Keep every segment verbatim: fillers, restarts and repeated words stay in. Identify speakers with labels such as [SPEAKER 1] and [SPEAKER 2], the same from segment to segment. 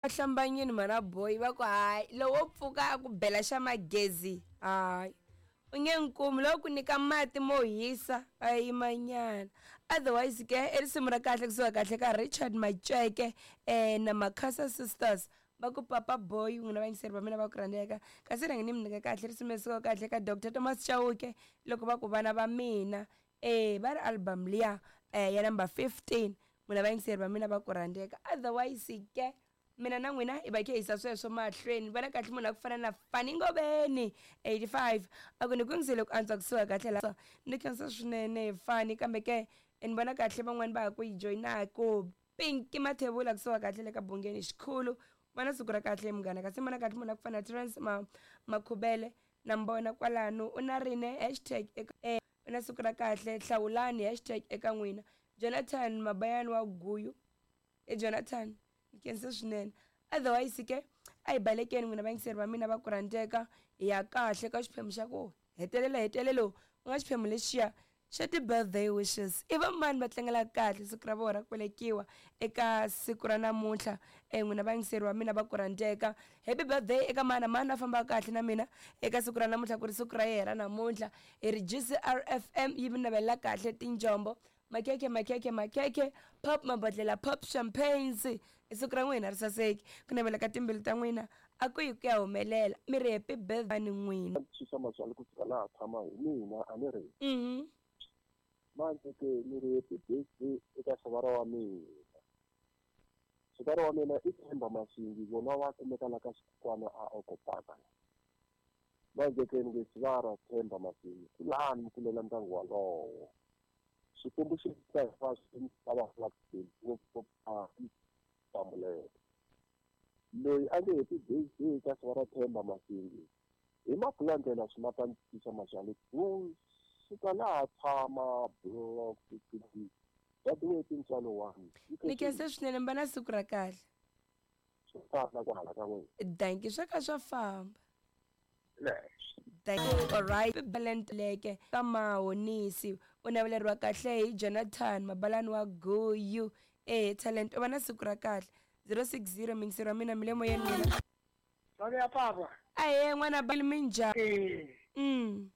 [SPEAKER 1] Hlambanyini mhana boy va ku hayi lowo pfuka a ku bela xa magezi hayi u nge nkumi loko ku nyika mati mo hisa a yimanyana. Otherwise ke i risimu ra kahle kusuka kahle ka Richard Maceke um na Makhasa Sisters va ku Papa Boy. N'wina vayingiseri va mina va ku rhandzeka, kasi rhangi ni mi nyika kahle risimu leri sukaka kahle ka Doctor Thomas Chauke loko va ku vana va mina eh va ri album liya eh ya number fifteen. N'wina vayingiseri va mina va ku rhandzeka. Otherwise ke mina na n'wina hi va khe hisa sweswo mahlweni. Vona kahle munhu a ku fana na Fani Ngobeni eighty-five a ku ni ku yingisele ku antswa kusuka kahle la ni khensa swinene Fani, kambe ke ni vona kahle van'wani va ha ku yi joyinaku. Pinky Mathebula kusuka kahle le ka Bungeni xikhulu, vona siku ra kahle munghana. Kasi vona kahle munhu a ku fana na Terence ma Makhubele na mbona kwalano u na rine hashtag eka eh, u na siku ra kahle hlawulani hashtag eka n'wina. Jonathan Mabayani wa Guyu e Jonathan khensa swinene. Otherwise ke a hi balekeni n'wina vayingiseri va mina va ku rhandzeka, hi ya kahle ka xiphemu xa ku hetelela hetelelo ku nga xiphemu lexiya xa ti-birthday wishes. I va mani va tlangelaka kahle siku ra vona ra ku velekiwa eka siku ra namuntlha? E n'wina vayingiseri va mina va ku rhandzeka, happy birthday eka mani na mani a fambaka kahle na mina eka siku ra namuntlha, ku ri siku ra yena namuntlha. Hi ri G C R F M yi mi navelela kahle tinjombo, makhekhe makhekhe makhekhe, pop mabodlela, pop champagnes. I siku ra n'wina ri saseki, ku navela ka timbilu ta n'wina a ku yi ku ya humelela. Mi ri happy birthday ni n'wina.
[SPEAKER 2] Xisa maswali ku fika laha tshama hi mina a ni ri.
[SPEAKER 1] Mhm.
[SPEAKER 2] Manje ke ni ri happy birthday eka xivara wa mina. Xivara wa mina i Themba Masingi, vona va kumeka la ka xikwana a Okopaka. Manje ke ni nge xivara Themba Masingi, kulani mi kulela ndyangu walowo. Xikwembu xi ta hinkwaswo lava ngopfu loyi a nge happy birthday ka xivara Themba Masingi hi mabulandlela swi mata ntisa maxali ku suka laha tshama block fifty that tintswalo one.
[SPEAKER 1] Ni khensa swinene, mi va na siku ra kahle.
[SPEAKER 2] Swo tala ku hala ka n'wina.
[SPEAKER 1] Thank you, swa ka swa famba. Thank you. All right. Leke ka Mahonisi u naveleriwa kahle hi Jonathan Mabalani wa Guyu. Eh talent u va na siku ra kahle. zero six zero mingiseri wa mina mi le moyeni n'wina.
[SPEAKER 3] Sale ya papa.
[SPEAKER 1] Ahe n'wana ba minjhani?
[SPEAKER 3] Eh.
[SPEAKER 1] Mm.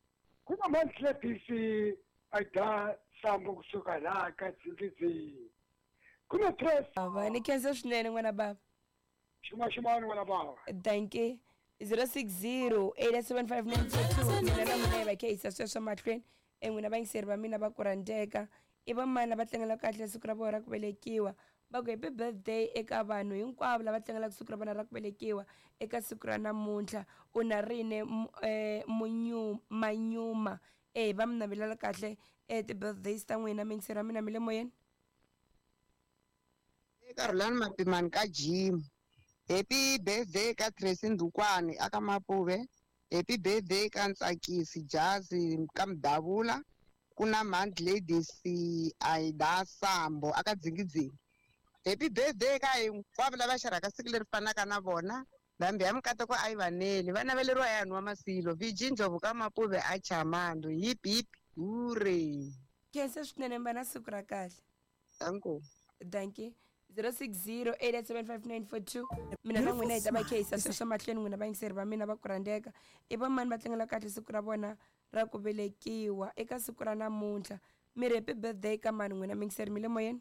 [SPEAKER 3] Ku na Mantlepisi a da sambo kusuka la ka Dzingidzingi. Ku na press.
[SPEAKER 1] Ava ni khensa swinene n'wana baba.
[SPEAKER 3] Xuma xuma n'wana baba.
[SPEAKER 1] Thank you. zero six zero eight seven five nine four two. Mina na n'wina hi va khe hisa sweswo mahlweni. E n'wina vayingiseri va mina va ku rhandzeka, i va mani lava tlangelaka kahle siku ra vona ra ku velekiwa? Va ku happy birthday eka vanhu hinkwavo lava tlangelaka siku ra vona ra ku velekiwa eka siku ra namuntlha. U na rine munyu manyuma eh va mi navelela kahle eh ti-birthdays ta n'wina. Miyingiseri wa mina mi le moyeni.
[SPEAKER 4] Eka Rhulani Mapimani ka Jim. Happy birthday ka Tracy Ndukwani aka Mapuve. Happy birthday ka Ntsakisi Jazi ka Mdavula. Ku na Mount Ladies Aida Sambo aka Dzingidzingi. Happy birthday ka hinkwavo lava xarhaka siku leri fanaka na vona. Ndhambi ya mikateko a yi vaneli, va naveleriwa ya nwa masilo. Viji Ndlovu ka Mapuve a Chamando. Hip hip hooray.
[SPEAKER 1] Khensa swinene, mi va na siku ra kahle.
[SPEAKER 4] Danko.
[SPEAKER 1] Thank you. zero six zero eight seven five nine four two. Mina na n'wina hi ta va khe hisa sweswo mahlweni. N'wina vayingiseri va mina va ku rhandzeka, i va mani va tlangela kahle siku ra vona ra ku velekiwa eka siku ra namuntlha? Mi ri happy birthday ka mani n'wina miyingiseri mi le moyeni?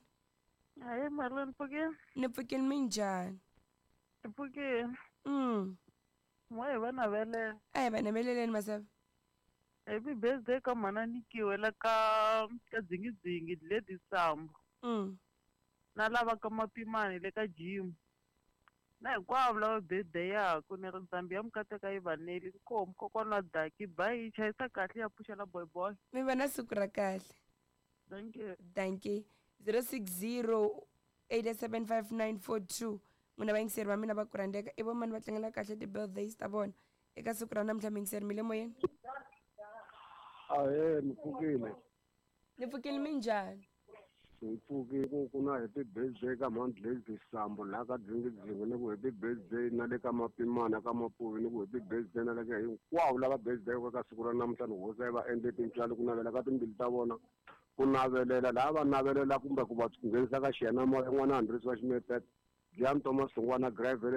[SPEAKER 5] Hayi Marlon, pfukile.
[SPEAKER 1] Ni pfukile, minjhani?
[SPEAKER 5] Ni pfukile.
[SPEAKER 1] Mm.
[SPEAKER 5] N'we hi va navelela.
[SPEAKER 1] A hi va naveleleni Masava.
[SPEAKER 5] Happy birthday ka mhana Nikiwe la ka ka Dzingidzingi Lady Sambo.
[SPEAKER 1] Mm.
[SPEAKER 5] Na lava ka Mapimani le ka Jim. Na hinkwavo lava birthday yaku ni ri ndzambi ya mikateka yi vaneli. Nkomu kokwana wa Daki bayi chayisa kahle ya pfuxela boy boy.
[SPEAKER 1] Mi va na siku ra kahle.
[SPEAKER 5] Thank you.
[SPEAKER 1] Thank you. zero six zero eight seven five nine four two. N'wina vayingiseri va mina va ku rhandzeka, i va mani va tlangela kahle ti-birthdays ta vona eka siku ra namuntlha? Miyingiseri mi le moyeni.
[SPEAKER 2] Ahee, mi pfukile.
[SPEAKER 1] Ni pfukile, minjhani?
[SPEAKER 2] Hi pfukile. Ku ku na happy birthday ka Mount Lady Sambo laha ka Dzingidzingi, ni ku happy birthday na le ka Mapimana ka Mapuve, ni ku happy birthday na le ka hinkwavo lava birthday ka siku ra namuntlha. Ni hosi va endle tintswalo ku navela ka timbilu ta vona, ku navelela laha va navelela kumbe ku va nghenisa ka xiyanimoya n'wana Andries wa Ximetete. Jan Thomas Sungwana Gravel.